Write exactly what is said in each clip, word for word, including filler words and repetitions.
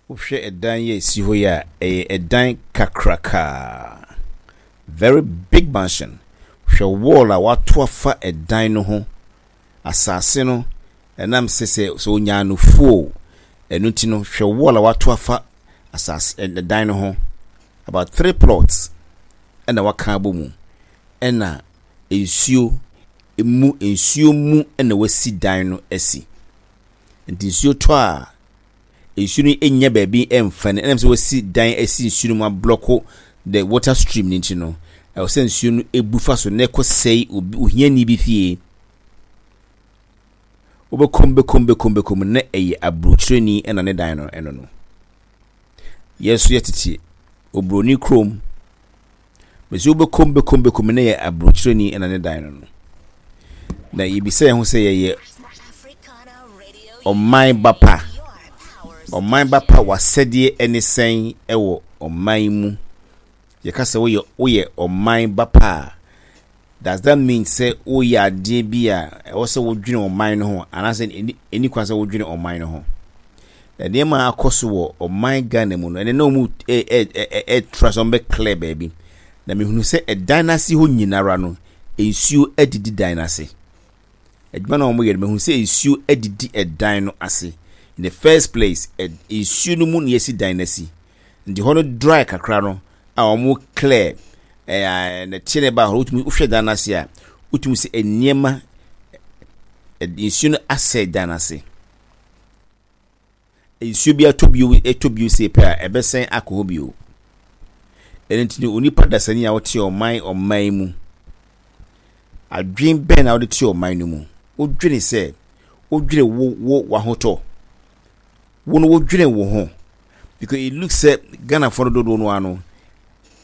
Wohwɛ ɛdan yi a ɛsi hɔ yi a, ɛyɛ ɛdan kakrakaa. Very big mansion. Hwɛ wall a wɔato afa ɛdan no ho. Asase no, ɛnam sɛ sɛ sɛ onyaa no fuo, ɛno nti no, hwɛ wall a wɔato afa asase ɛdan no ho. About three plots ɛna wɔaka abɔ mu, ɛna nsuo mu nsuo mu ɛna wɔasi dan no asi. Nti nsuo tɔ a, nsuo no nnya baabi mfa no ɛnam sɛ wɔasi dan asi nsuo no mu ablock the water stream no nti no, ɛwɔ sɛ nsuo no ebu fa so na ɛkɔsɛe obi ohiani bi fie. Wobɛkɔm bɛkɔm bɛkɔm bɛkɔm na ɛyɛ aburokyerɛni ɛna ne dan no ɛno no. Yɛn nso yɛtete oburoni kurom. Bɛsi wobɛkɔm bɛkɔm bɛkɔm na yɛ aburokyerɛni ɛna ne dan no no. Na yɛbisa yɛn ho sɛ yɛyɛ ɔman ba pa. Ɔman ba pa w'asɛdeɛ ɛne sɛn ɛwɔ ɔman mu. Yɛka sɛ woyɛ woyɛ ɔman ba pa a, does that mean sɛ woyɛ adeɛ bi a ɛwɔ sɛ wodwene ɔman no ho anaasɛ ɛni ɛni kwan sɛ wodwene ɔman no ho? Nneɛma a akɔ so wɔ ɔman Ghana mu no, ɛnɛ na wɔn ɛ ɛ ɛ ɛtra sɛ wɔbɛ clear baabi. Na mehunu sɛ ɛdan n'ase hɔ nyinara no, nsuo adidi dan n'ase. Adwuma na wɔyɛ no, mehunu sɛ nsuo adidi ɛdan no ase. In the first place, ɛ nsuo no mu na yɛsi dan n'asi. Nti hɔ no dry kakra no a wɔn clear ɛɛ nɛteɛ na ɛba hɔ, wotumi wohwɛ dan n'ase a, wotumi sɛ nneɛma nsuo no asɛe dan n'ase. Nsuo bi atɔ bio ɛtɔ bio sei pɛ a, ɛbɛsɛn akɔ hɔ bio. Ɛno nti no, onipa dasani a wote ɔman ɔman mu, adwene bɛn na wode te ɔman no mu? Wodwene sɛ wodwene wo wo w'ahotɔ. Wo no wodwene wo ho. Because it looks sɛ Ghanafoɔ no dodoɔ no ara no,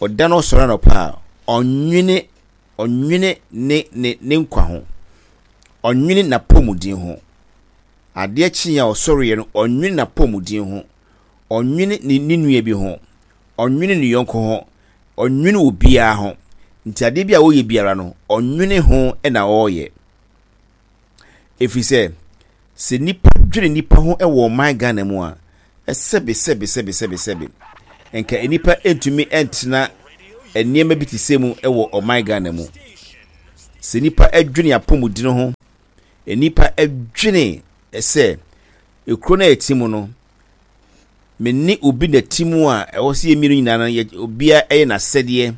ɔda no ɔsɔre anɔpa a, ɔnwene ɔnwene ne ne ne nkwa ho. Ɔnwene n'apɔmuden ho. Adeɛ kye a ɔsɔreɛ no, ɔnwene n'apɔmuden ho. Ɔnwene ne ne nua bi ho. Ɔnwene ne yɔnko ho. Ɔnwene obiara ho. Nti adeɛ bi a ɔyɛ biara no, ɔnwene ho na ɔreyɛ. Ɛfiri sɛ, sɛ nipa dwene nipa ho wɔ ɔman Ghana mu a, sɛbe sɛbe sɛbe sɛbe sɛbe nka nipa ntumi ntena nneɛma bi te sɛ mu wɔ ɔman Ghana mu. Sɛ nipa dwene apɔmuden ho, nipa dwene sɛ ekuro no a yɛte mu no, me ne obi na te mu a ɛwɔ sɛ yɛn mmienu nyinaa no yɛ obiara yɛ n'asɛdeɛ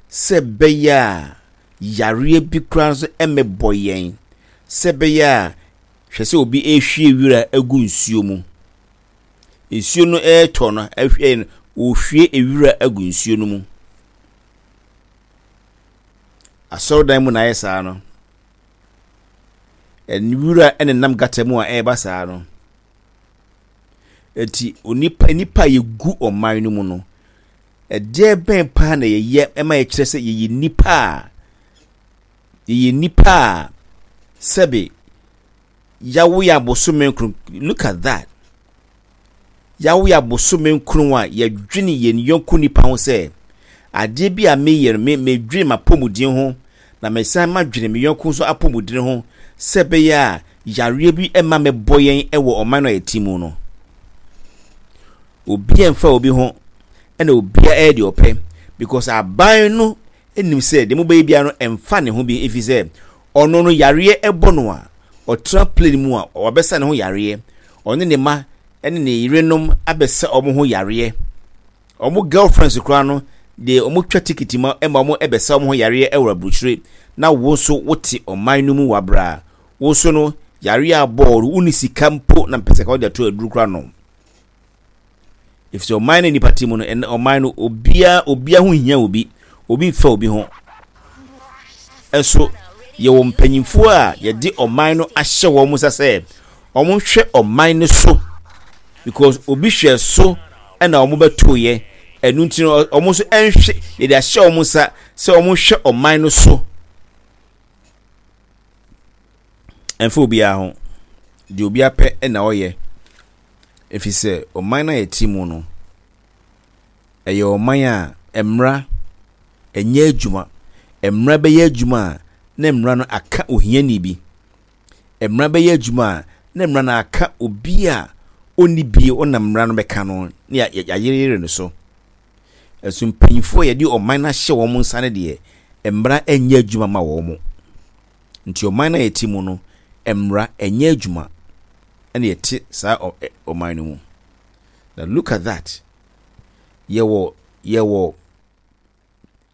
sɛ ɛbɛyɛ a yareɛ bi koraa nso mmɛbɔ yɛn sɛ ɛbɛyɛ a hwɛ sɛ obi rehwie wira agu nsuo mu. Nsuo no retɔ no ahwie no ɔrehwie ewira agu nsuo no mu. Asɔredan mu na ayɛ saa no. Nwura nenam gutter mu a ɛreba saa no. Eti onipa nipa a yɛgu ɔman no mu no, ɛdeɛ bɛn paa na yɛyɛ ma yɛkyerɛ sɛ yɛyɛ nipa a yɛyɛ nipa a sɛbe yawo yɛ abosome nkron. Look at that. Yawo yɛ abosome nkron a yɛdwene yɛn yɔnko nipa ho sɛ adeɛ bi a meyɛ no me medwene m'apɔmuden ho na mesan madwene me yɔnko nso apɔmuden ho sɛ ɛbɛyɛ a yareɛ bi mma mɛbɔ yɛn wɔ ɔman no a yɛte mu no. Obiara mfa obi ho ɛna obiara ɛyɛ deɛ ɔpɛ because aban no nim sɛ deɛ mobɛyɛ biara no ɛmfa ne ho bi ɛfiri sɛ ɔno no yareɛ ɛbɔ no a ɔtena plane mu a wabɛsa ne ho yareɛ ɔne ne ma ɛne ne yerenom abɛsa wɔn ho yareɛ wɔn girlfriends koraa no deɛ wɔn twa tikiti ma ɛma wɔn ɛbɛsa wɔn ho yareɛ ɛwɔ aburukyire na wo nso wote ɔman no mu wabra wo nso no yareɛ abɔɔ no wonni sika mpo na mpɛ sɛ ka wɔde ato aduru koraa no efisɛ ɔman no nipa te mu no ɛnɛ ɔman no obiara obiara ho hia obi obi nfa obi ho ɛso yɛwɔ mpanyinfoɔ a yɛde ɔman no ahyɛ wɔn nsa sɛ wɔn hwɛ ɔman no so because obi hwɛ so ɛna wɔn bɛto yɛ ɛnu nti no wɔn nso ɛnhwɛ yɛde ahyɛ wɔn nsa sɛ wɔn hwɛ ɔman no so ɛnfa obiara ho deɛ obiara pɛ ɛna ɔyɛ ɛfiri sɛ ɔman no a yɛte mu no ɛyɛ ɔman a mmara ɛnyɛ adwuma mmara bɛyɛ adwuma a na mmara no aka ohiani bi mmara bɛyɛ adwuma a na mmara no aka obi a Ɔnni bie, ɔnam mmara no bɛka no ne yɛayereyere no so. Ɛso mpanyinfoɔ a yɛde ɔman no ahyɛ wɔn nsa no deɛ, mmara nyɛ adwuma ma wɔn. Nti ɔman no a yɛte mu no, mmara nyɛ adwuma ɛna yɛte saa ɔman no mu. Now look at that. Yɛwɔ yɛwɔ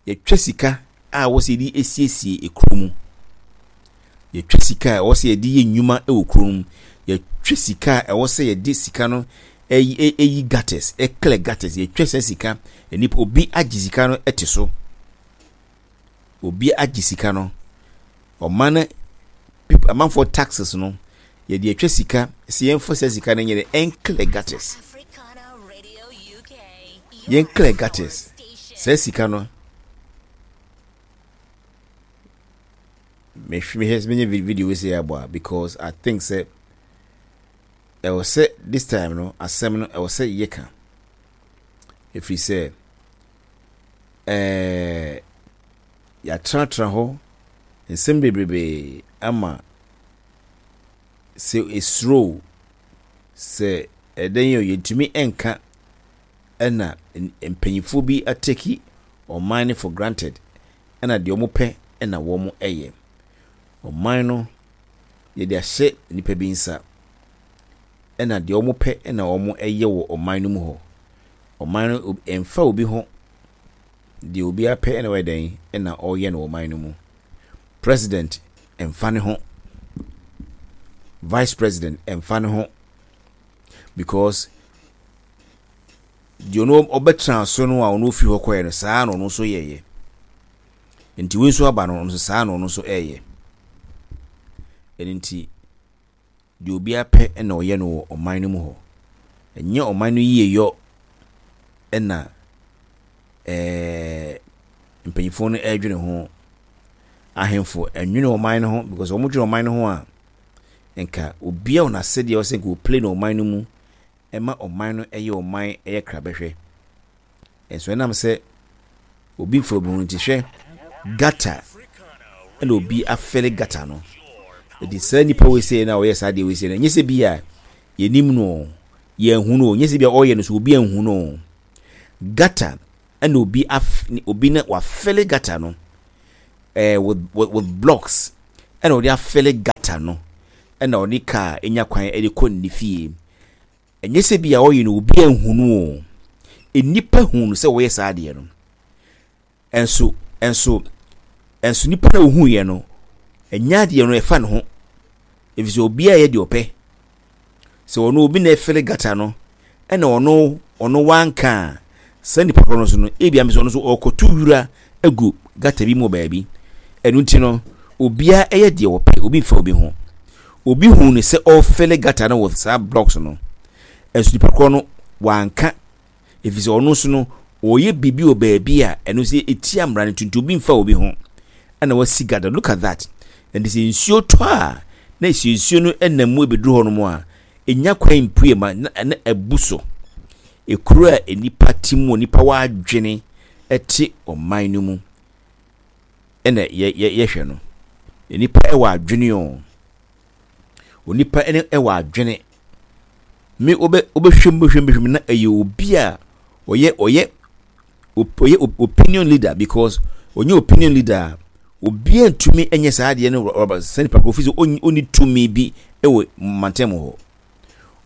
yɛtwa sika a wɔsɛ yɛde esiesie ekuro mu. Yɛtwa sika a ɛwɔ sɛ yɛde yɛ nnwuma wɔ kuro mu. Yɛtwa sika a ɛwɔ sɛ yɛde sika no ɛyi ɛyi gutters, ɛclear gutters. Yɛtwa saa sika, nipa obi agye sika no ɛte so. Obi agye sika no. Ɔman no people, amanfoɔ taxes no, yɛde atwa sika sɛ yɛmfa saa sika no nyɛ dɛ ɛnclear gutters. Yɛn clear gutters. Saa sika no mehwɛ mehwɛ menye video wei sɛ yɛabɔ a, because I think sɛ ɛwɔ sɛ this time no, asɛm no ɛwɔ sɛ yɛka, ɛfiri sɛ ɛɛ yɛatenatena hɔ nsɛm bebrebee ama sɛ esuro sɛ ɛdɛn yɛ, yɛntumi nka. Ɛna mpanyinfoɔ bi atake ɔman no for granted, ɛna deɛ wɔn pɛ ɛna wɔn ɛyɛ. Ɔman no yɛde ahyɛ nipa bi nsa, ɛna deɛ wɔn pɛ ɛna wɔn ɛyɛ wɔ ɔman no mu hɔ. Ɔman no ɛmfa obi ho, deɛ obi apɛ ɛna wɔyɛ dɛn ɛna ɔreyɛ no wɔ ɔman no mu. President ɛmfa ne ho, vice president ɛmfa ne ho, because deɛ ɔno ɔbɛtena so no a ɔno ofiri hɔ kɔɛ no, saa na ɔno nso yɛyɛ. Nti wei nso aba no, ɔno nso saa na ɔno nso ɛyɛ. Ɛno nti deɛ obiara pɛ ɛna ɔyɛ no wɔ ɔman no mu hɔ. Ɛnyɛ ɔman no yie yɔ ɛna ɛɛ mpanyinfoɔ no ɛredwene ho. Ahemfo ɛnwene ɔman no ho, because wɔn dwene ɔman no ho a, nka obiara wɔ n'asɛdeɛ ɔsɛ nka ɔplay no ɔman no mu ɛma ɔman no ɛyɛ ɔman ɛyɛ krabɛhwɛ. Ɛnso ɛnam sɛ obi mfa obi ho nti, hwɛ gutter ɛna obi afill gutter no. Ɛdi saa nipa wei sɛ na ɔyɛ saa deɛ wei sɛ no, ɛnyɛ sɛ bi a yɛnim no, yɛnhu no, nyɛ sɛ bi a ɔyɛ no so obi anhu no. Gutter ɛna obi af obi na wafill gutter no ɛɛ with, with with blocks, ɛna ɔde afill gutter no, ɛna ɔde kaa enya kwan ɛde kɔ ne fie. Ɛnyɛ sɛ bi a ɔyɛ no obi anhu no o, nnipa hu no sɛ wɔyɛ saa adeɛ no. ɛnso ɛnso ɛnso nipa na ohu yɛ no, ɛnyɛ adeɛ no ɛfa ne ho, efisɛ obiara yɛ deɛ ɔpɛ. Sɛ ɔno obi na ɛfill gutter no ɛna ɔno ɔno wanka a, saa nipa korɔ no so no, ebi ame sɛ ɔno nso ɔrekɔto wura agu gutter bi mu wɔ baabi. Ɛno nti no, obiara ɛyɛ deɛ ɔpɛ, obi nfa obi ho. Obi hu ne sɛ ɔrefill gutter no wɔ saa blocks no, ɛnso nipa korɔ no wanka, efisɛ ɔno nso no ɔyɛ biribi wɔ baabi a ɛno nso etia mmara no nti obi nfa obi ho ɛna wasi gutter. Look at that. Ɛnti sɛ nsuo tɔ a, na esi nsuo no ɛnam mu ebeduru hɔ nom a, enya kwan mpue ma na na ɛbu so. Ekuro a nipa te mu, nipa wɔ adwene ɛte ɔman no mu ɛna yɛ yɛ yɛhwɛ no, nipa ɛwɔ adwene o, onipa ɛne ɛwɔ adwene. Me wobɛ wobɛhwɛ mu, bɛhwɛ mu, bɛhwɛ mu na ɛyɛ obi a ɔyɛ ɔyɛ ɔyɛ opinion leader, because ɔnyɛ opinion leader a, obiara ntumi nyɛ saa adeɛ no rɔba sɛ nipa koro fi sɛ ɔnni tumi bi wɔ mantam hɔ.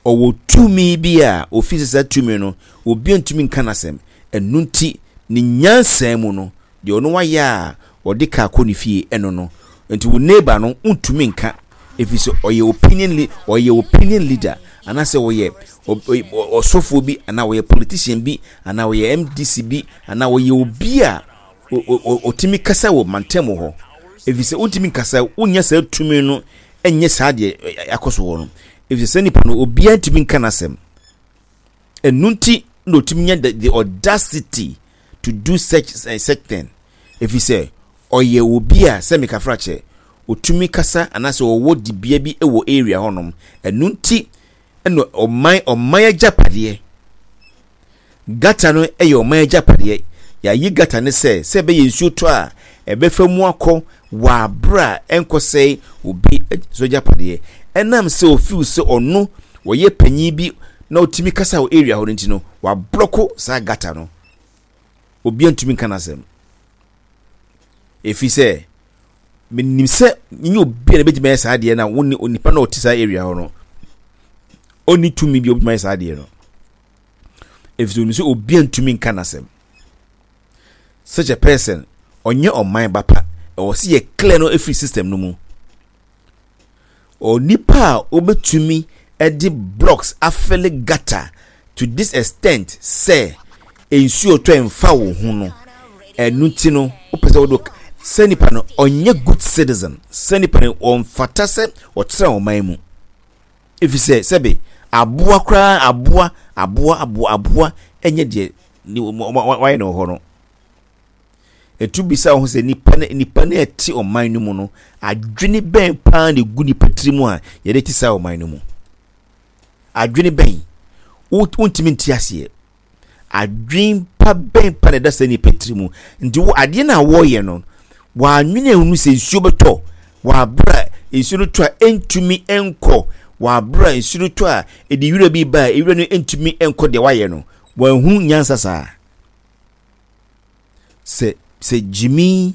Ɔwɔ tumi bi a ofi sɛ saa tumi no obiara ntumi nka n'asɛm. Ɛno nti ne nyansa mu no, deɛ ɔno wayɛ a ɔde kaa kɔ ne fie ɛno no nti wo neighbor no ntumi nka, ɛfiri sɛ ɔyɛ opinion ɔyɛ opinion leader, anaasɛ ɔyɛ ɔsɔfoɔ bi, anaa ɔyɛ politician bi, anaa ɔyɛ M D C bi, anaa ɔyɛ obi a ɔtumi kasa wɔ mantam hɔ. Ɛfiri sɛ wontumi nkasa, wonya saa tumi no ɛnyɛ saa deɛ akɔ so hɔ no, ɛfiri sɛ nipa no obiara ntumi nka n'asɛm. Ɛno nti na ɔtumi nya the, the audacity to do such uh, such thing, ɛfiri sɛ ɔyɛ obi a sɛ mekafra kyɛ ɔtumi kasa anaasɛ ɔwɔ dibea bi wɔ area hɔnom. Ɛno nti ɛna ɔman ɔman agyapadeɛ, gutter no yɛ ɔman agyapadeɛ. Yɛayi gutter no sɛ sɛ ɛbɛyɛ nsuo tɔ a ɛbɛfa mu akɔ wɔ abere a ɛnkɔsɛe obi so agyapadeɛ. Ɛnam sɛ ofiw sɛ ɔno wɔyɛ panyin bi Na ɔtumi kasa wɔ area hɔ no nti no, wablock saa gutter no. Obiara ntumi nka n'asɛm. Ɛfiri sɛ menim sɛ nyɛ obi a na bɛtumi ayɛ saa adeɛ no a wo ne onipa na ɔte saa area hɔ no, ɔnni tumi bi a ɔbɛtumi ayɛ saa adeɛ no. Ɛfiri sɛ onim sɛ obiara ntumi nka n'asɛm. Such a person, ɔnyɛ ɔman ba pa. Ɛwɔ sɛ yɛ clear no ɛfiri system no mu. Onipa a obɛtumi ɛde blocks afill gutter to this extent sɛ nsuo tɔ mfa wo ho no, ɛno ti no, wopɛ sɛ wode sɛ nipa no ɔnyɛ good citizen, sɛ nipa no ɔmfata sɛ ɔtena ɔman mu. Ɛfiri sɛ sɛbe aboa koraa, aboa aboa aboa aboa ɛnyɛ deɛ wayɛ no wɔ hɔ no. Etu bisa wo ho sɛ nipa no nipa no ɛte ɔman no mu no, adwene bɛn paa na egu nipa tiri mu a yɛde te saa ɔman no mu? Adwene bɛn? Wontumi nte aseɛ. Adwene pa bɛn pa na ɛda saa nipa tiri mu? Nti wo adeɛ no a wɔreyɛ no, wɔanwene ehunu sɛ nsuo bɛtɔ wɔabere a nsuo no tɔ a ɛntumi nkɔ, wɔabere a nsuo no tɔ a ɛde wira bi ba a ewira no ntumi nkɔ deɛ wayɛ no. Wɔanhunu nyansa saa. Sɛ sɛ gyimi,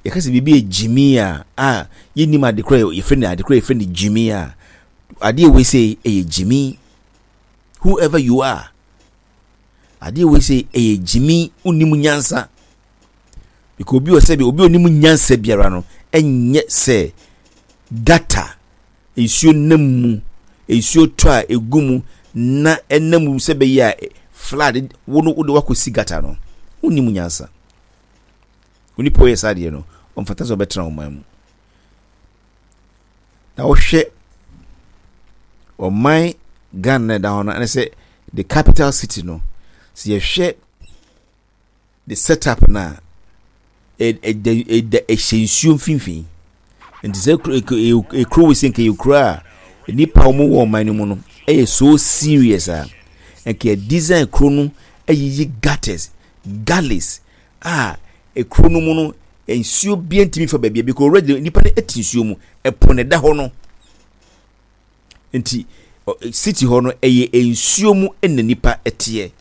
yɛka sɛ biribi yɛ gyimi a a yɛnnim ade korɔ yɛfrɛ no, ade korɔ yɛfrɛ no gyimi a, adeɛ wei sɛ ɛyɛ gyimi. Whoever you are, adeɛ wei sɛ ɛyɛ gyimi. Wonnim nyansa because obi wɔ sɛ bi obi onim nyansa biara no ɛnyɛ sɛ gutter nsuo nam mu, nsuo tɔ a egu mu na ɛnam mu sɛ bɛyɛ a flood wo no, wode wakɔsi gutter no. Wonnim nyansa. Onipa ɔyɛ saa adeɛ no, ɔmfata sɛ ɔbɛtena ɔman mu. Na wohwɛ ɔman Ghana na ɛda hɔ no, ɛne sɛ the capital city no, sɛ yɛhwɛ the setup na ɛda ɛda ɛhyɛ nsuo mfimfini. Nti sɛ ekuro wɔ sɛ nka yɛ kuro a nipa a wɔwɔ ɔman no mu no ɛyɛ so serious a, nka yɛ design kuro no ayiyi gutters, gullies a ekuro no mu no nsuo bia ntumi fa baabi a, because already nipa no te nsuo mu. Ɛpo na ɛda hɔ no. Nti city hɔ no ɛyɛ nsuo mu na nipa teɛ,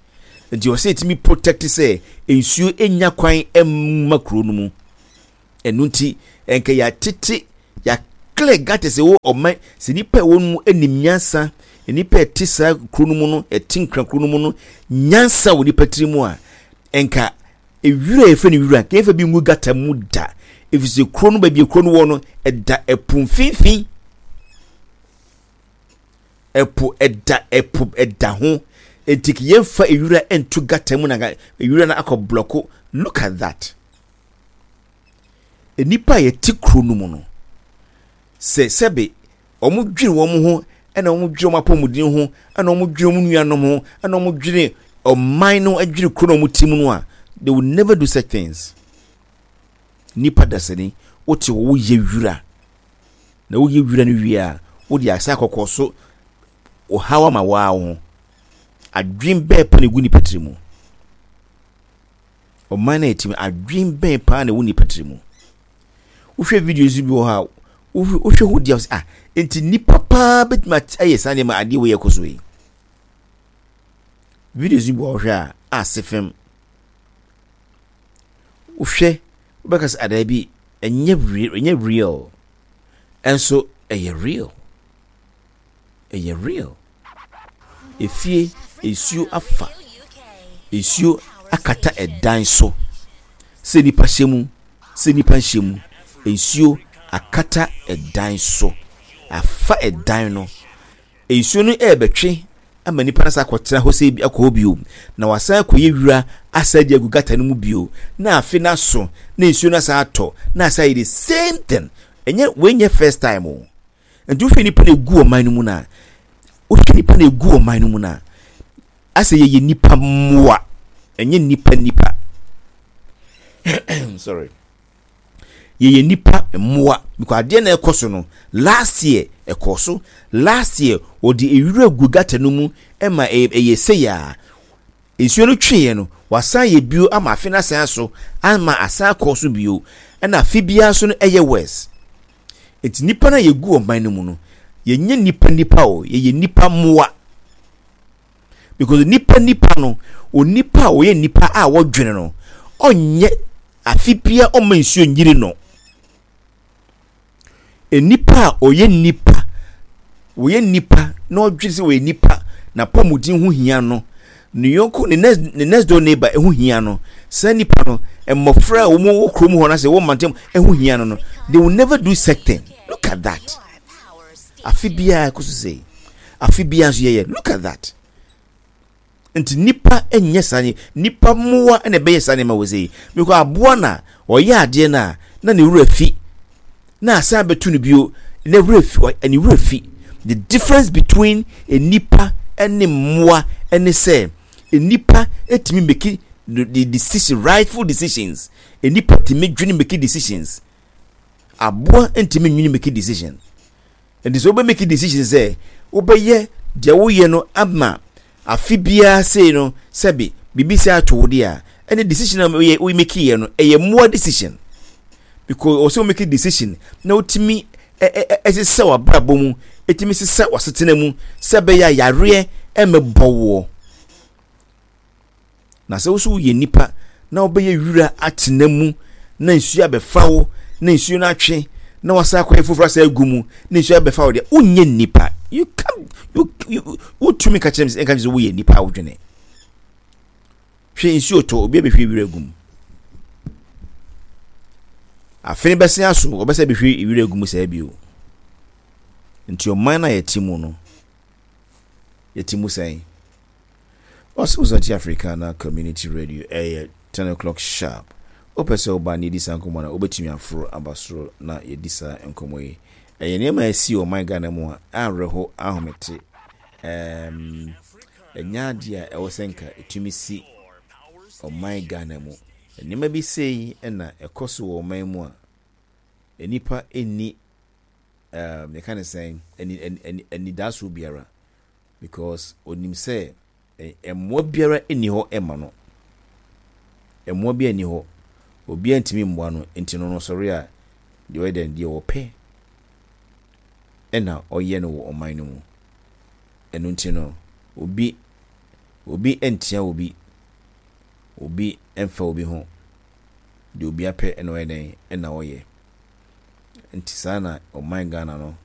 nti ɔsɛ etumi protect sɛ nsuo enya kwan mma kuro no mu. Ɛno nti nka yɛatete, yɛaclear gutters ɛwɔ ɔman. Sɛ nipa ɛwɔ no mu anim nyansa, nipa ɛte saa kuro no mu no, ɛte Nkran kuro no mu no, nyansa wɔ nipa tiri mu a, nka ewira yɛfrɛ no wira nka yɛfɛ bi ngu gutter mu da, efisɛ kuro no, baabi kuro no wɔ no, ɛda ɛpo mfimfini. Ɛpo ɛda, ɛpo ɛda ho, nti yɛmfa ewira nto gutter mu na ewira no akɔ block. Look at that. Nipa a yɛte kuro no mu no, sɛ sɛbe wɔn dwene wɔn ho, ɛna wɔn dwene wɔn apɔmuden ho, ɛna wɔn dwene wɔn nuanom ho, ɛna wɔn dwene ɔman no, dwene kuro na wɔn ti mu no a, they will never do such things. Nipa dasani wote hɔ, woyɛ wira na woyɛ wira no wie a, wode asa akɔkɔ so ɔhaw ama waa wo ho. Adwene bɛɛ pa na egu nipa tiri mu? Ɔman na yɛte mu, adwene bɛn paa na ɛwɔ nipa tiri mu? Wohwɛ videos bi wɔ hɔ a, wohwɛ ho di a, ah, nti nipa paa bɛtumi ayɛ saa nneɛma adeɛ wɔ yɛ kɔ so yi? Videos bi wɔ hɔ a ase fam, wohwɛ, wobɛka sɛ adaa bi ɛnyɛ real, ɛnyɛ real, ɛnso ɛyɛ real, ɛyɛ real. Efie nsuo afa, nsuo akata ɛdan so, sɛ nipa hyɛ mu, sɛ nipa nhyɛ mu, nsuo akata ɛdan so, afa ɛdan no. Nsuo no ɛrebɛtwe ama nipa no sa akɔtena hɔ sɛ akɔ hɔ bio na wasan akɔyɛ wira asa de agu gutter no mu bio, na afe no aso na nsuo no asa atɔ na asa yɛ the same thing. Ɛnyɛ wei nyɛ first time o. Nti wohwɛ nipa na egu ɔman no mu na wohwɛ nipa na egu ɔman no mu na asɛ yɛyɛ nipa mmoa, ɛnyɛ nipa nipa, sorry, yɛyɛ nipa mmoa, because adeɛ na ɛkɔ so no, last year ɛkɔ so, last year wɔde ewura gu gutter no mu ɛma ɛyɛ sɛyaa nsuo no tweeɛ no, wasan yɛ bio ama afe no asan so ama asan akɔ so bio, ɛna afe biara so no ɛyɛ worse. Nti nipa no a yɛgu ɔman no mu no, yɛnyɛ nipa nipa o, yɛyɛ nipa mmoa. Because nipa nipa no, onipa a ɔyɛ nipa a wɔdwene no, ɔnyɛ afe bia ɔma nsuo nyiri no. Nipa a ɔyɛ nipa, ɔyɛ nipa na ɔdwene sɛ ɔyɛ nipa na pɔmuden ho hia no, ne yɔnko ne next ne next door neighbor ho hia no, saa nipa no, mmɔfra a wɔn wɔ kurom hɔ na sɛ wɔn mantam ho hia no no, they will never do such thing. Look at that. Afe biara kɔ so sɛ, afe biara nso yɛyɛ. Look at that. Nti nipa nyɛ saa ne nipa mmoa na ɛbɛyɛ saa nneɛma wɔ sɛ yi, because aboa na ɔyɛ adeɛ no a na ne wura fi na asan bɛto no bio na wura fi, ne wura fi. The difference between nipa ne mmoa ne sɛ nipa etumi make the decision, rightful decisions. Nipa tumi dwene make decisions. Aboa ntumi nwene make decision. Nti sɛ wobɛ make decision sɛ wobɛyɛ deɛ woyɛ no ama afe biara sei no, sɛbi biribi sɛ ato wo deɛ a, ɛne decision a woyɛ wo make yɛ no, ɛyɛ mmoa decision, because ɔsɛ wo make decision na wotumi ɛsesa w'abrabɔ mu, ɛtumi sesa w'asetena mu sɛ ɛbɛyɛ a yareɛ ɛmɛbɔ woɔ. Na sɛ woso woyɛ nipa na wobɛyɛ wira atena mu na nsuo abɛfa wo na nsuo no atwe na wasa akɔyɛ foforɔ asa agu mu na nsuo abɛfa wo deɛ, wonyɛ nipa. You can you you wotumi ka kyerɛ me sɛ nka kyerɛ sɛ woyɛ nipa a wodwene. Hwɛ, nsuo tɔ, obi abɛhwie wira gu mu, afe no bɛsen aso, ɔbɛsɛ bɛhwie wira gu mu saa bio. Nti ɔman no a yɛte mu no, yɛte mu sɛn? Ɔsɛ Wosakyi Africana Community Radio, ɛyɛ ten o'clock sharp. Wopɛ sɛ woba na yɛdi saa nkɔmmɔ no a, wobɛtumi aforo aba soro na yɛdi saa nkɔmmɔ yi. Ɛyɛ nneɛma a ɛsi ɔman Ghana mu a awerɛho ahomete. ɛɛm ɛnyɛ adeɛ a ɛwɔ sɛ nka ɛtumi si ɔman Ghana mu. Nneɛma bi sei ɛna ɛkɔ so wɔ ɔman mu a nnipa nni ɛɛm yɛka ne sɛn, ani ani anidasoɔ biara, because onim sɛ mmoa biara nni hɔ ɛma no. Mmoa biara nni hɔ, obiara ntumi mmoa no. Nti no no sɔre a, deɛ ɔyɛ dɛn, deɛ ɔpɛ ɛna ɔyɛ no wɔ ɔman no mu. Ɛno nti no, obi obi ntia obi, obi mfa obi ho. Deɛ obi apɛ ɛna ɔyɛ dɛn ɛna ɔyɛ. Nti saa na ɔman Ghana no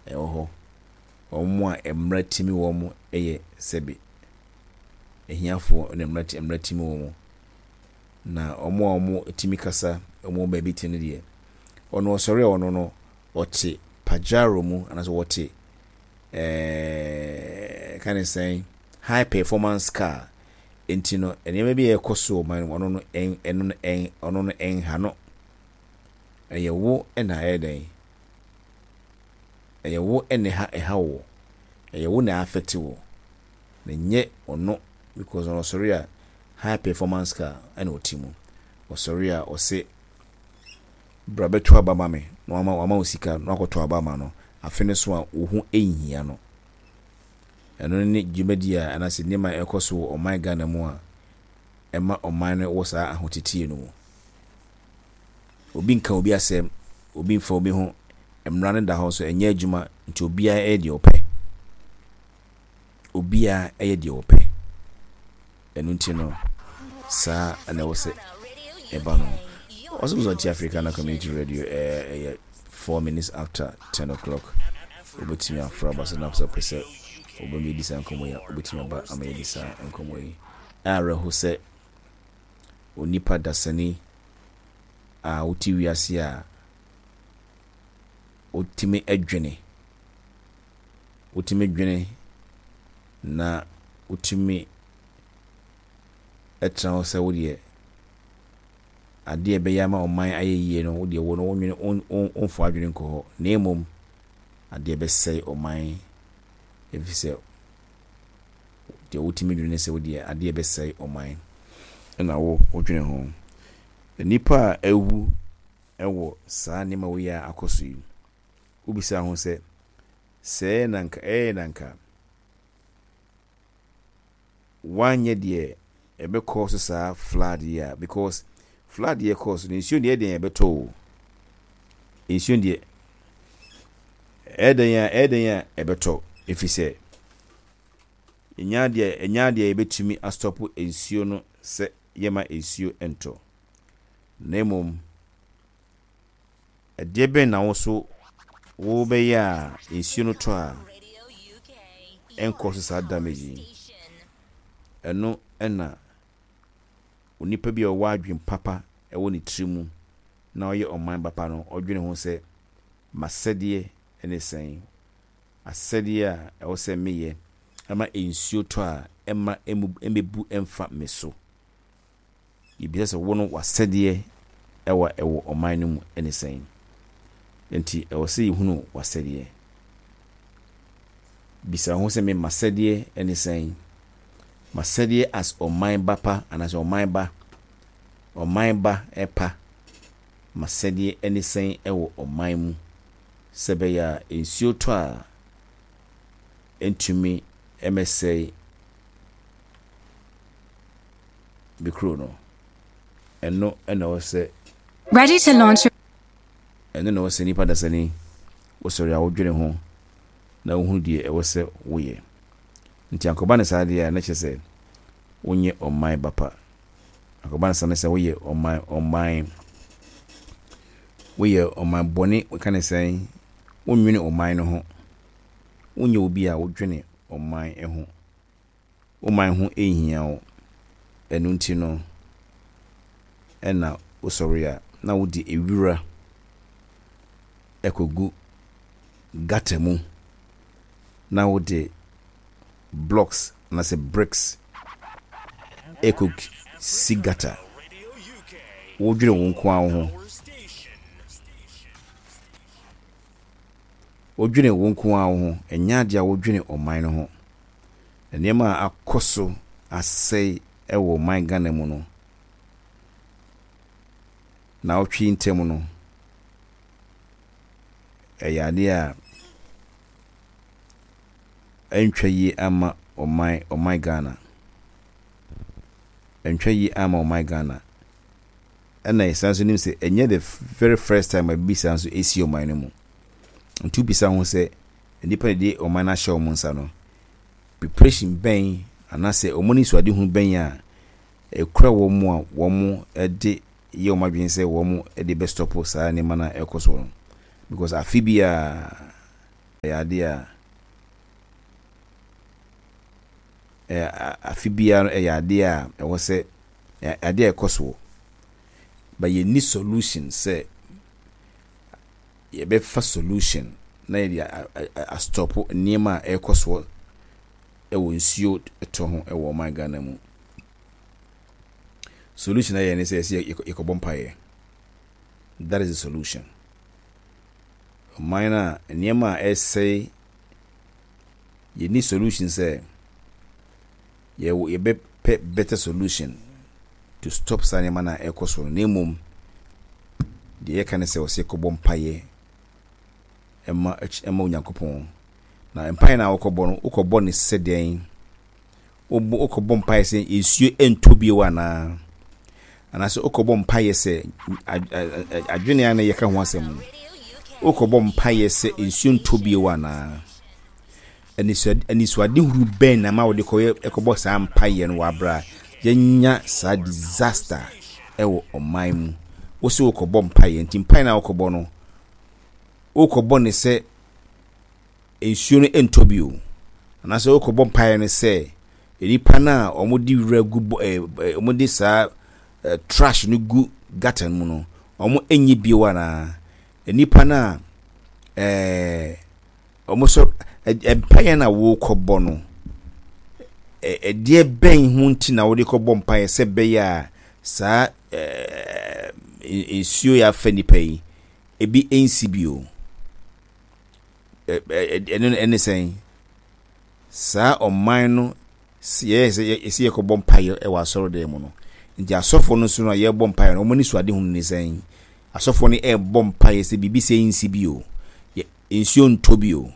ɛwɔ hɔ. Wɔn a mmerɛ timi wɔn yɛ sɛbi ahiafoɔ na mmerɛ mmerɛ timi wɔn, na wɔn a wɔn timi kasa, wɔn wɔ baabi te no deɛ, ɔno ɔsɔre a, ɔno no ɔte Pajero mu anaasɛ wɔte ɛɛɛ ka ne sɛn, high performance car. Nti no nneɛma bi a ɛkɔ so ɔman no mu, ɔno no ɛn ɛno no ɛn ɔno no ɛnha no. Ɛyɛ wo ɛna ɛyɛ dɛn, ɛyɛ wo ɛna ɛha ɛha wo, ɛyɛ wo na affect wo na nyɛ ɔno, because ɔno ɔsɔre a, high performance car ɛna ɔte mu. Ɔsɔre a, ɔse bra bɛto aba ma me, na wama wama wo sika na wakɔto aba ama no. Afe no so a, wo ho nhia no. Ɛno ne dwumadi a anaasɛ nneɛma a ɛkɔ so wɔ ɔman Ghana mu a ɛma ɔman no wɔ saa ahotetie no mu. Obi nka obi asɛm, obi mfa obi ho. Mmara no da hɔ so, ɛnyɛ adwuma. Nti obiara ɛyɛ deɛ ɔpɛ, obiara ɛyɛ deɛ ɔpɛ. Ɛno nti no saa ɛna ɛwɔ sɛ ɛba no. Ɔsɛ Wosɔkye Africana Community Radio, ɛyɛ ɛyɛ four minutes after ten o'clock. Wobɛtumi afra aba so na sɛ wopɛ sɛ wobɛma yɛdi saa nkɔmmɔ yi a, wobɛtumi aba ama yɛdi saa nkɔmmɔ yi. Awerɛho sɛ onipa dasani a wote wiase a wotumi adwene, wotumi dwene na wotumi ɛtena hɔ sɛ wodeɛ adeɛ ɛbɛyɛ ama ɔman ayɛ yie no, wodeɛ wo no wonwene, womfa adwene nkɔ hɔ, na mmom adeɛ bɛsɛe ɔman, ɛfiri sɛ deɛ wotumi dwene sɛ wodeɛ adeɛ bɛsɛe ɔman ɛna wo wodwene ho. Nnipa a ɛwu ɛwɔ saa nneɛma wei a akɔ so yi, wobisa ho sɛ sɛɛ na nka ɛyɛ na nka wanyɛ deɛ ɛbɛkɔ so saa flood yi a, because flood yɛ kɔɔ so no, nsuo deɛ ɛdeɛn ɛbɛtɔ o. Nsuo deɛ ɛyɛ dɛn a ɛyɛ dɛn a ɛbɛtɔ, ɛfiri sɛ Ɛnyɛ adeɛ ɛnyɛ adeɛ a yɛbɛtumi astop nsuo no sɛ yɛma nsuo ntɔ. Na mmom, ɛdeɛ bɛn na wo so wobɛyɛ a nsuo no tɔ a ɛnkɔ so saa damage yi? Ɛno ɛna onipa bi a ɔwɔ adwene papa ɛwɔ ne tiri mu na ɔyɛ ɔman papa no ɔdwene ho sɛ masɛdeɛ ne sɛn, asɛdeɛ a ɛwɔ sɛ meyɛ ama nsuo tɔ a ɛma ɛmɛbu ɛmfa me so. Yɛbisa sɛ wo no w'asɛdeɛ ɛwɔ ɛwɔ ɔman no mu ne sɛn? Nti ɛwɔ sɛ yɛhunu w'asɛdeɛ. Bisa ho sɛ me masɛdeɛ ne sɛn? Masɛdeɛ as ɔman ba pa anaasɛ ɔman ba, ɔman ba ɛpa, masɛdeɛ ne sɛn ɛwɔ ɔman mu sɛ ɛbɛyɛ a nsuo tɔ a ɛntumi ɛmɛsɛe me kuro no. Ɛno ɛna ɛwɔ sɛ Ready to launch ɛno na ɛwɔ sɛ nipa dasani wosɔre a wodwene ho na wohunu deɛ ɛwɔ sɛ woyɛ. Nti ankɔba ne saa deɛ a, na kyerɛ sɛ wonyɛ ɔman ba pa. Ankɔba ne saa ne sɛ woyɛ ɔman ɔman woyɛ ɔman bɔne. Ka ne sɛn, wonnwene ɔman no ho. Wonyɛ obi a wodwene ɔman ho. Wo man ho nhia wo. Ɛno nti no ɛna wosɔre a na wode ewura ɛkɔgu gutter mu na wode blocks anaasɛ bricks ɛkɔ si gutter. Wodwene wo nko ara wo ho. Wodwene wo nko ara wo ho. Ɛnyɛ adeɛ a wodwene ɔman no ho. Nneɛma a akɔ so asɛe ɛwɔ ɔman Ghana mu no, naawɔtwe ntam no, ɛyɛ adeɛ a ɛntwa yie ama ɔman ɔman Ghana. Ɛntwa yie ama ɔman Ghana. Ɛna yɛsan nso nim sɛ ɛnyɛ the very first time a biribi saa nso esi ɔman no mu. Nti wobisa ho sɛ nnipa na de ɔman no ahyɛ wɔn nsa no, preparation bɛn anaasɛ wɔn anisoadehunu bɛn a ɛkura wɔn mu a wɔn de yɛ wɔn adwene sɛ wɔn de bɛstop saa nneɛma no a ɛrekɔ so no? Because afe biara ɛyɛ adeɛ a ɛyɛ afe biara ɛyɛ adeɛ a ɛwɔ sɛ adeɛ a ɛkɔ soɔ. But yɛnni solution sɛ yɛbɛfa solution na yɛde astop nneɛma a ɛrekɔ soɔ ɛwɔ nsuo tɔ ho ɛwɔ ɔman Ghana mu. Solution a yɛ ne sɛ yɛsɛ yɛkɔbɔ mpaeɛ. That is the solution. Ɔman a nneɛma a ɛresɛe, yɛnni solution sɛ yɛwɔ yɛbɛpɛ better solution to stop saa nneɛma no a ɛrekɔ so no, na mmom deɛ yɛka ne sɛ wɔsɛ yɛkɔbɔ mpaeɛ ɛma ɛma Onyankopɔn. Na mpaeɛ no a wɔkɔbɔ no, wokɔbɔ ne sɛ dɛn? Wobɔ wokɔbɔ mpaeɛ sɛ nsuo ntɔ bio anaa? Anaasɛ wokɔbɔ mpaeɛ sɛ adwene a na yɛka ho asɛm no, wokɔbɔ mpaeɛ sɛ nsuo ntɔ bio anaa? Anisoadehunu bɛn na ma wode kɔyɛ ɛkɔbɔ saa mpaeɛ no wɔ abere a yɛnya saa disaster ɛwɔ ɔman mu? Wo sɛ wokɔbɔ mpaeɛ, nti mpaeɛ no a wokɔbɔ no, wokɔbɔ ne sɛ nsuo no ntɔ bio, anaasɛ wokɔbɔ mpaeɛ no sɛ nnipa no a wɔde wura gu bɔ ɛɛ ɛɛ wɔde saa ɛɛ trash no gu gutter mu no, wɔn nyɛ bio anaa? Nnipa no a ɛɛ wɔn nso mpaeɛ no a wɔrekɔbɔ no, ɛdeɛ bɛn ho nti na wɔde kɔbɔ mpaeɛ sɛ ɛbɛyɛ a saa ɛɛ nsuo yi afa nipa yi ebi nsi bio? Ɛno ɛne sɛn? Saa ɔman no yɛyɛ sɛ yɛsɛ yɛkɔbɔ mpaeɛ wɔ asɔredan mu no, nti asɔfoɔ no nso no a yɛrebɔ mpaeɛ no, wɔn ani so adehunu ne sɛn? Asɔfoɔ no ɛrebɔ mpaeɛ sɛ biribi sɛ nsi bio, nsuo ntɔ bio.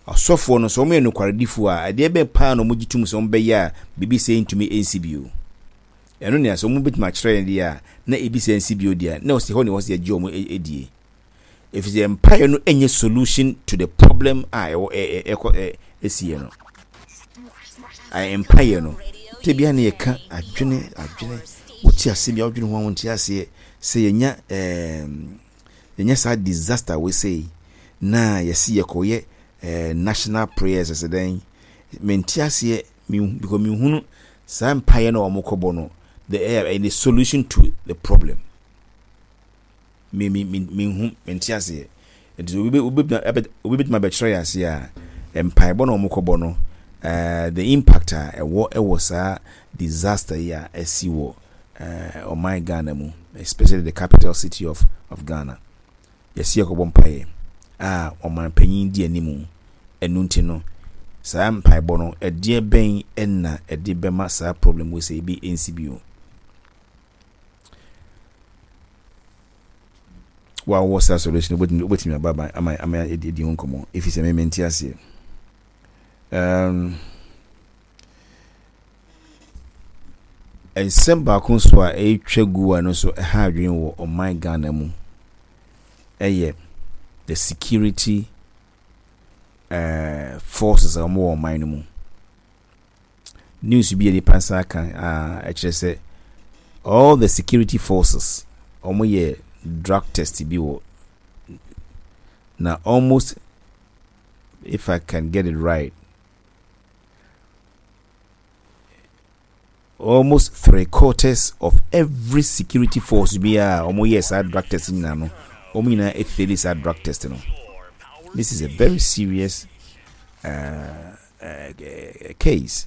Asɔfoɔ no sɛ wɔn yɛ nokwaredifoɔ a, adeɛ bɛn paa na wɔn gye tom sɛ wɔn bɛyɛ a biribi sɛ ntumi nsi bio? Ɛno nea sɛ wɔn bɛtumi akyerɛ yɛn deɛ a na ebi sɛ nsi bio deɛ, na ɔsi hɔ na ɛwɔ sɛ yɛgye wɔn die, efisɛ mpaeɛ no nyɛ solution to the problem a ɛwɔ ɛ ɛkɔ ɛ ɛsiɛ no. Mpaeɛ no te bia ne yɛka adwene adwene wote ase bia wodwene ho a wonte aseɛ sɛ yɛnya ɛɛm yɛnya saa disaster wei sei na yɛsi yɛkɔyɛ ɛɛ national prayers ɛsɛ dɛn. Mente aseɛ me because mehunu saa mpaeɛ no a wɔn kɔbɔ no, the ɛyɛ the solution to the problem. me me me mehu, mente aseɛ. Nti obi bɛ obi bɛ obi bɛtumi abɛkyerɛ yɛ aseɛ a, mpaebɔ na wɔn kɔbɔ no, ɛɛ the impact a ɛwɔ ɛwɔ saa disaster yi a ɛsi wɔ ɛɛ ɔman Ghana mu, especially the capital city of of Ghana. Yɛsi yɛkɔbɔ mpaeɛ a ɔman panyin di anim. Ɛno nti no, saa mpaebɔ no, ɛdeɛ bɛn ɛna ɛde bɛma saa problem wɔ sɛ ebi nsi bio? Wo a wowɔ saa solution wobɛtumi wobɛtumi aba ama ama ama yɛadi ho nkɔmmɔ ɛfiri sɛ me mente aseɛ. Um, nsɛm baako nso a ɛretwa gu a no nso ɛha adwene wɔ ɔman Ghana mu ɛyɛ the security uh, forces a wɔwɔ ɔman no mu. News bi a nipa nsa aka a ɛkyerɛ sɛ all the security forces wɔn yɛ drug test bi wɔ na almost, if I can get it right, almost three quarters of every security force bi a wɔn yɛ saa drug test nyinaa no, wɔn nyinaa efeli saa drug test no. This is a very serious uh, uh, case.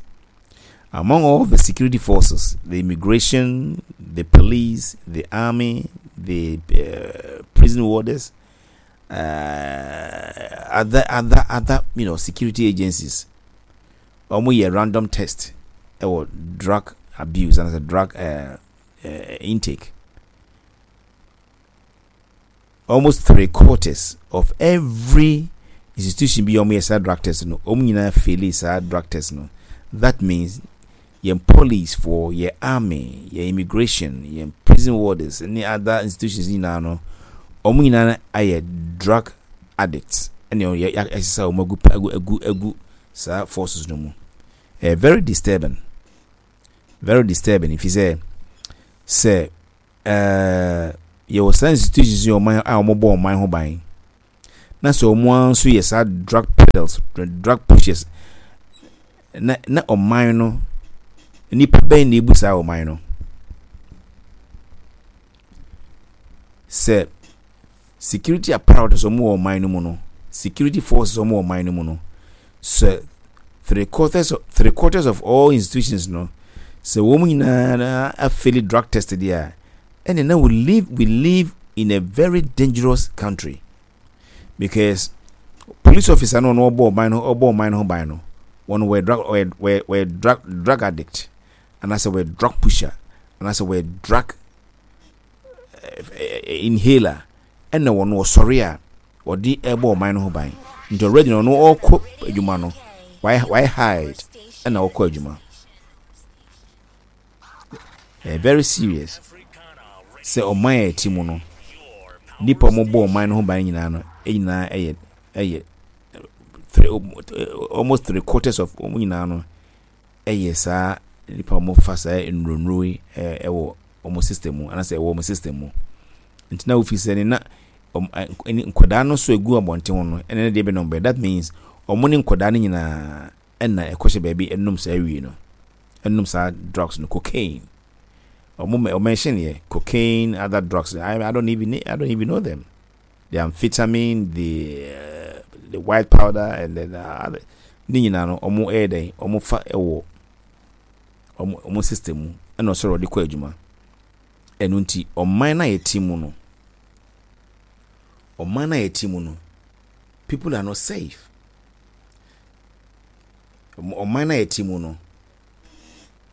Among all the security forces, the immigration, the police, the army, the uh, prison warders, uh, other other other you know security agencies, wɔn yɛ random test ɛwɔ drug abuse and a drug uh, uh, intake. Almost three quarters of every institution bi a wɔyɛ saa drug test no, wɔn nyinaa faili saa drug test no. That means yɛn police for yɛn army, yɛn immigration, yɛn prison warders ne other institutions nyinaa no, wɔn nyinaa ayɛ drug addicts ɛna yɛ yɛasesa wɔn agu agu agu agu saa forces no mu. Ɛyɛ very disturbing, very disturbing, if sɛ sɛ ɛɛ yɛwɔ saa institutions yi ɔman a wɔbɔ ɔman ho ban na sɛ wɔn ara nso yɛ saa drug peddlers, drug pushers, na na ɔman no nipa bɛn na ebu saa ɔman no? Sɛ security apparatus wɔn wɔ ɔman no mu no, security forces wɔn wɔ ɔman no mu no, sɛ three quarters three quarters of all institutions no, sɛ wɔn nyinaa afaili drug test deɛ a, ɛna na we live we live in a very dangerous country, because police officer no, ɔno ɔbɔ ɔman no ɔbɔ ɔman no ho ban no, wɔn wɔyɛ drug wɔyɛ wɔyɛ wɔyɛ drug drug addict anaasɛ wɔyɛ drug pusher anaasɛ wɔyɛ drug inhaler, ɛna wɔn wɔsɔre a wɔde ɛbɔ ɔman no ho ban. Nti already no, ɔno ɔkɔ adwuma no, wayɛ wayɛ hide ɛna ɔkɔ adwuma. Ɛyɛ very serious sɛ ɔman a ɛte mu no, nipa a wɔbɔ ɔman no ho ban nyinaa no nyinaa ɛyɛ ɛyɛ three almost three quarters of wɔn nyinaa no ɛyɛ saa nipa a wɔfa saa nnuro yi ɛwɔ wɔn system mu anaasɛ ɛwɔ wɔn system mu. Nti na wofi sɛ ne na nkwadaa no nso egu abɔnten ho no, ɛna ne deɛ bi nom bɛyɛ. That means wɔn ne nkwadaa no nyinaa ɛna ɛkɔhyɛ baabi ɛnum saa wie no, ɛnum saa drugs no, cocaine. Wɔn wɔn mention yɛ cocaine, other drugs. I, I don't even I don't even know them, the amphetamine, the uh, the white powder and then uh, other ne nyinaa no, wɔn ɛyɛ dɛn, wɔn fa ɛwɔ wɔn wɔn system mu ɛna ɔsɔrɔ ɔde kɔ adwuma. Ɛno nti ɔman na yɛte mu no, ɔman na yɛte mu no, people are not safe. Ɔman na yɛte mu no,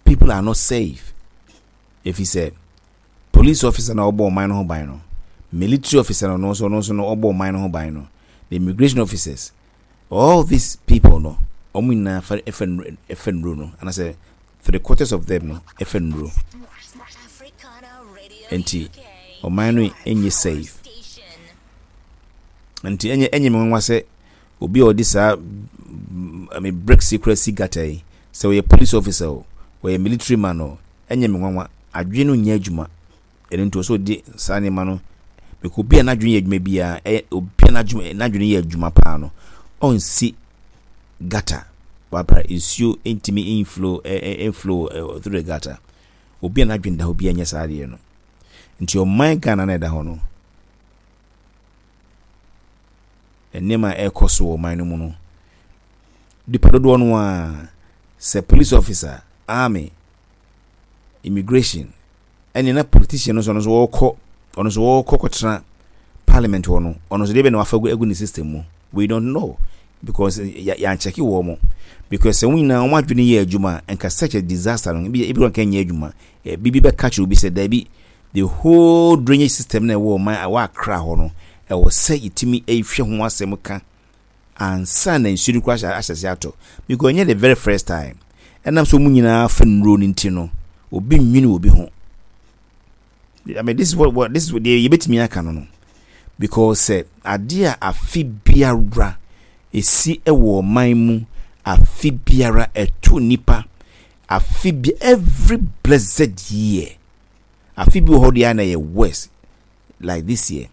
people are not safe, efi sɛ police officer na ɔbɔ ɔman no ho ban no, military officer no nso ɔno nso no ɔbɔ ɔman no ho ban no, the immigration officers, all these people no, wɔn nyinaa fa ɛfɛ nnuro ɛfɛ nnuro no, anaasɛ three quarters of them no ɛfɛ nnuro. Nti ɔman no nyɛ safe. Nti ɛnyɛ ɛnyɛ me nwanwa sɛ obi a ɔde saa, I mean, bricks yi kura si gutter yi Sɛ ɔyɛ police officer o, ɔyɛ military man o, ɛnyɛ me nwanwa. Adwene no nyɛ adwuma. Ɛno nti ɔsɛ ɔde saa nneɛma no, because obi a n'adwene yɛ adwuma biara, ɛyɛ obi a n'adwene n'adwene yɛ adwuma paa no, ɔnsi gutter wabra nsuo ntumi inflow ɛ ɛ flow through the gutter. Obi a n'adwene da hɔ bi nyɛ saa adeɛ no. Nti ɔman Ghana na ɛda hɔ no, nneɛma a ɛrekɔ so wɔ ɔman no mu no, nipa dodoɔ no a, sɛ police officer, army, immigration, ɛne na politician no nso, ɔno nso wɔrekɔ, ɔno nso wɔrekɔ kɔtena parliament hɔ no, ɔno nso deɛ bɛ na wafa agu ne system mu, we don't know, because yɛankyɛke wɔ mo, because sɛ wɔn nyinaa wɔn adwene yɛ adwuma, nka such a disaster no ebi ebi nka nyɛ adwuma. Bibi bɛka kyerɛ obi sɛ daabi, the whole drainage system na ɛwɔ ɔman ɛwɔ Accra hɔ no, ɛwɔ sɛ yɛtumi ɛhwɛ ho asɛm ka ansa na nsuo no kora ahyɛ ahyɛ atɔ, because ɛnyɛ the very first time. Ɛnam sɛ wɔn nyinaa fa nnuro no nti no, obi nwini obi ho. I mean, this is what, what this is what yɛbɛtumi aka no no because sɛ adeɛ a afe biara esi ɛwɔ ɔman mu, afe biara ɛto nipa, afe bi, every blessed year, afe bi wɔ hɔ deɛ na yɛ worse like this year.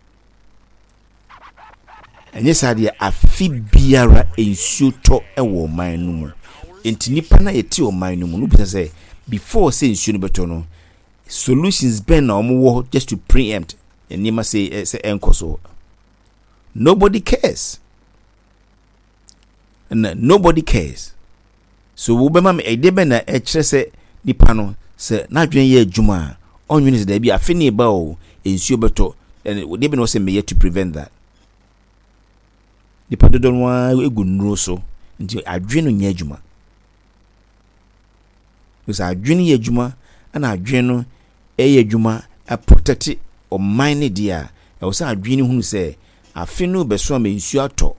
Ɛnyɛ saa deɛ, afe biara nsuo tɔ ɛwɔ ɔman no mu. Nti nipa na yɛte ɔman no mu no bisa sɛ, before sɛ nsuo no bɛtɔ no, solutions bɛn na wɔn wɔ just to preempt nneɛma sɛ sɛ ɛnkɔ so? Nobody cares na nobody cares. So wobɛma me ɛdeɛ bɛn na ɛkyerɛ sɛ nipa no, sɛ n'adwene yɛ adwuma a, ɔnwene sɛ daabi, afe ne ba o, nsuo bɛtɔ, ɛne deɛ bɛn na ɔsɛ meyɛ to prevent that? Nipa dodoɔ no ara egu nnuro so, nti adwene no nyɛ adwuma, because adwene yɛ adwuma, ɛna adwene no ɛyɛ adwuma aprotect ɔman ne deɛ a ɛwɔ sɛ adwene no hunu sɛ afe no bɛso ama nsuo atɔ.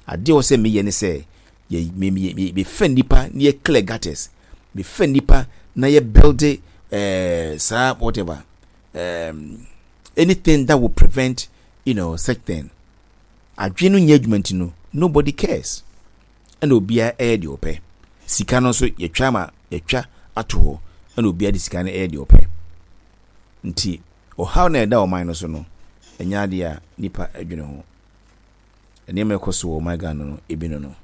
Adeɛ wɔ sɛ meyɛ ne sɛ yɛ me me me mefa nipa na yɛ clear gutters, mefa nipa na yɛ build ɛɛ saa whatever, um, anything that will prevent you know such thing. Adwene no nyɛ adwuma nti no, nobody cares, ɛna obiara ɛyɛ deɛ ɔpɛ. Sika no nso yɛtwa ama yɛtwa ato hɔ, ɛna obiara de sika no ɛyɛ deɛ ɔpɛ. Nti ɔhaw na ɛda ɔman no so no, ɛnyɛ adeɛ a nipa adwene ho. Nneɛma ɛkɔ so wɔ ɔman Ghana no ebi no no.